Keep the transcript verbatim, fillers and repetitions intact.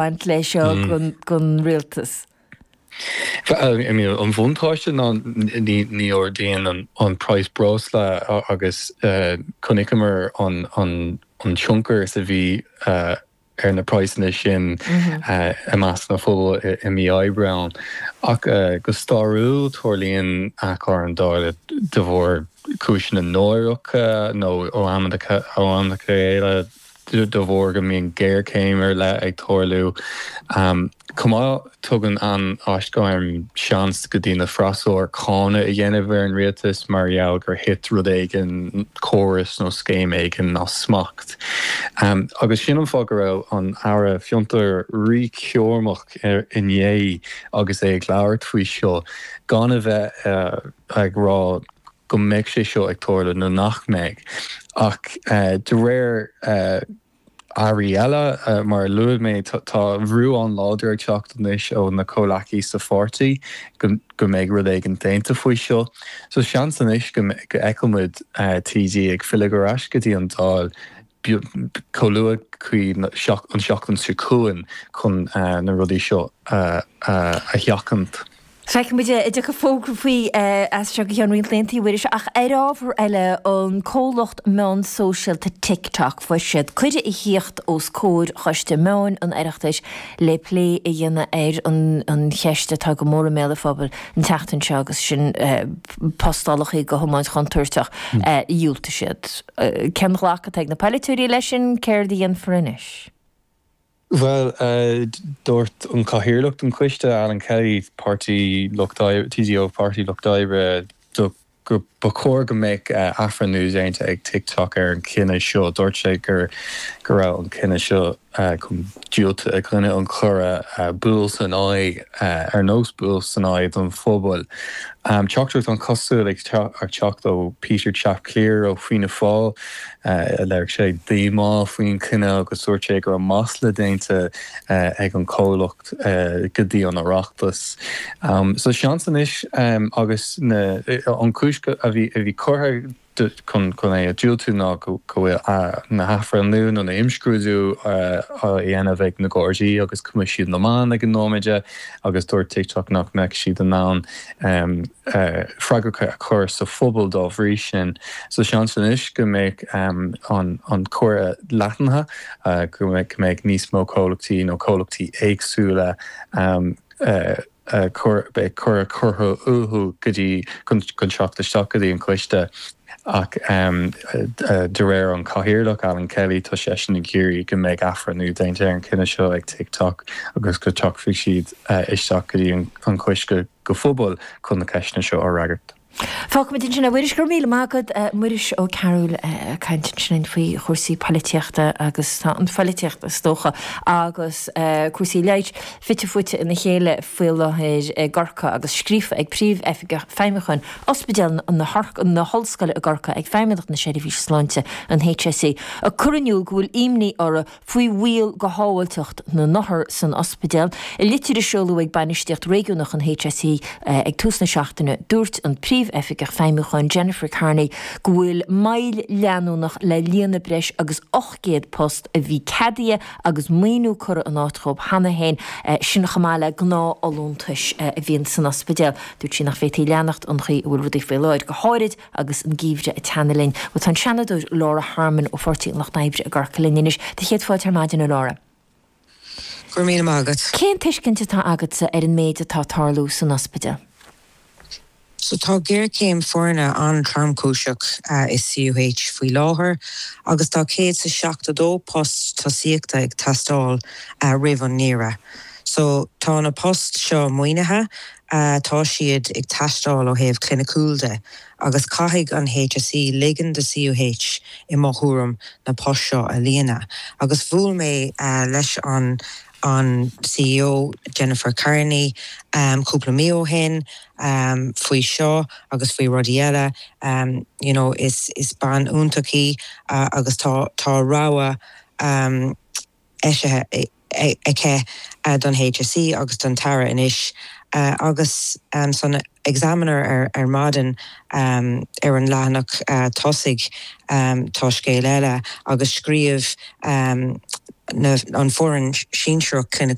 baint leis seo don rialtas? I mean, an bhuntáiste ná ní ní ardaíonn an praghas breosla agus chonaiceamar an an an tionchar is a bhí ar na praghsanna sin i measc na phobal i mí Aibreán. Ach go stairiúil tarlaíonn athghairm Dála de bharr cúiseanna náireacha nó ó am ó am go chéile de bharr go mbíonn géarchéim ar leith ag tarlú. Chomh maith tugann an aisghairm seans go dtí na freasúra cáineadh a dhéanamh ar an rialtas mar gheall gur thit rud éigin córas nó scéim éigin as smacht. Agus sin an fáth go raibh an Aire Fiontar ríchúramach inné agus é ag labhairt faoi seo gan a bheith ag rá go mbeidh sé seo ag tarlú nó nach mbeidh. Ach de réir airí eile mar a luaigh mé tá brú an-láidir ag teacht anois ó na comhleacaí sa pháirtí go go mbeidh rud éigin déanta faoi seo. So seans anois go bhfeicfidh muid TD ag filleadh ar ais go dtí an Dáil chomh luath chuí an seachtain seo chugainn chun na rudaí seo a sheachaint. Feicfidh muid an dtiocfaidh fógra faoi as seo go ceann roinnt laethanta Mhuiris ach ar ábhar eile an comhlacht meán sóisialta TikTok fuair siad cuireadh a thíocht os comhair Choiste Meáin an Oireachtais le plé a dhéanamh ar an an cheist atá go mór i mbéal an phobail an tseachtain seo agus sin postálacha de thiomáint chontúirteach dhiúltaigh siad. Cén ghlacadh atá ag na polaiteoirí leis sin céard a dhéanfar anois? Well dúirt an cathaoirleach den choiste Alan Kelly Páirtí Lucht TD ó Páirtí Lucht Oibre do go ba chóir go mbeadh athbhreithniú déanta ag TikTok ar an cinneadh seo. Dúirt sé gur go raibh an cinneadh seo chun diúltú i gcoinne an chuireadh buail san aghaidh ar nós buail san aghaidh don phobal. Teachtaireacht an-chosúil ag teacht ó Peter Chap Cleere ó Fianna Fáil a léirigh sé díomá faoin cinneadh agus dúirt sé go raibh masla déanta ag an comhlacht go dtí an Oireachtas. So seans anois agus na an cúis a bhí a bhí curtha chun chun é a diúltú ná go bhfuil na hathbhreithniú nó na imscrúdú á dhéanamh ag na Gardaí agus Coimisiún na Meán ag an nóiméad agus dúirt TikTok nach mbeadh siad in ann freagra a chur sa phobal dá bhrí sin. So seans anois go mbeidh an an cuireadh leathnaithe go mbeidh go mbeidh níos mó comhlachtaí nó comhlachtaí éagsúla beidh cuireadh curtha uathu go dtí chun teacht isteach go dtí an coiste ach de réir an cathaoirleach Alan Kelly tá seisean ag iarraidh go mbeidh athbhreithniú déanta ar an cinneadh seo ag TikTok agus go dtiocfaidh siad isteach go dtí an coiste go phobal chun na ceisteanna seo a fhreagairt. Fágfaimid ansin é Mhuiris go raibh míle maith agat Muiris Ó Cearúil ag caint ansin faoi chúrsaí polaitíochta agus tá an pholaitíocht is dócha agus cúrsaí leighis fite fuaite ina chéile faoi láthair i gCorcaigh agus scríofa ag príomh-oifigeach feidhmiúcháin Ospidéal na na hOllscoile i gCorcaigh ag Feidhmeannacht na Seirbhíse Sláinte an HSE ag cur in iúl go bhfuil imní orthu faoi bhaol do shábháilteacht na n-othar san ospidéal. I litir a seoladh ag bainistíocht réigiúnach an HSE ag tús na seachtaine dúirt an príomh-oifigeach feidhmiúcháin Jennifer Carney go bhfuil moill leanúnach le líonadh breis agus ocht gcéad post a bhí ceadaithe agus maoiniú curtha in áit dóibh cheana féin sin chomh maith le gnáthfholúntais a bhíonn san ospidéal. Dúirt sí nach bhféadfaí leanacht an chaoi a bhfuil rudaí faoi láthair go háirid agus an geimhreadh ag teannadh linn. Bhuel tá an Seanadóir Laura Harmon ó Pháirtí an Lucht Oibre i gCorcaigh linn anois. Do chéad fáilte ar maidin a Laura. Go raibh míle maith agat. Cén tuiscint atá agatsa ar an méid atá ag tarlú san ospidéal? So tá géarchéim foirne an-tromchúiseach i CUH faoi láthair agus tá céad is seachtó dó post tosaíochta ag teastáil roimh an ngeimhreadh. So tá na poist seo maoinithe, tá siad ag teastáil ó thaobh cliniciúil de agus caithfidh an HSE ligean do CUH i mo thuairim na poist seo a líonadh. Agus bhuail mé leis an an CEO Jennifer Carney um, cúpla mí ó shin um, faoi seo agus faoi rudaí eile um, you know, is, is bean iontach í uh, agus tá tá rogha um, eisithe aici uh, don HSE agus don tAire anois uh, agus um, san Examiner ar ar maidin um, ar an leathanach uh, tosaigh um, tá scéal eile agus scríobh um, na, an foireann sinsearach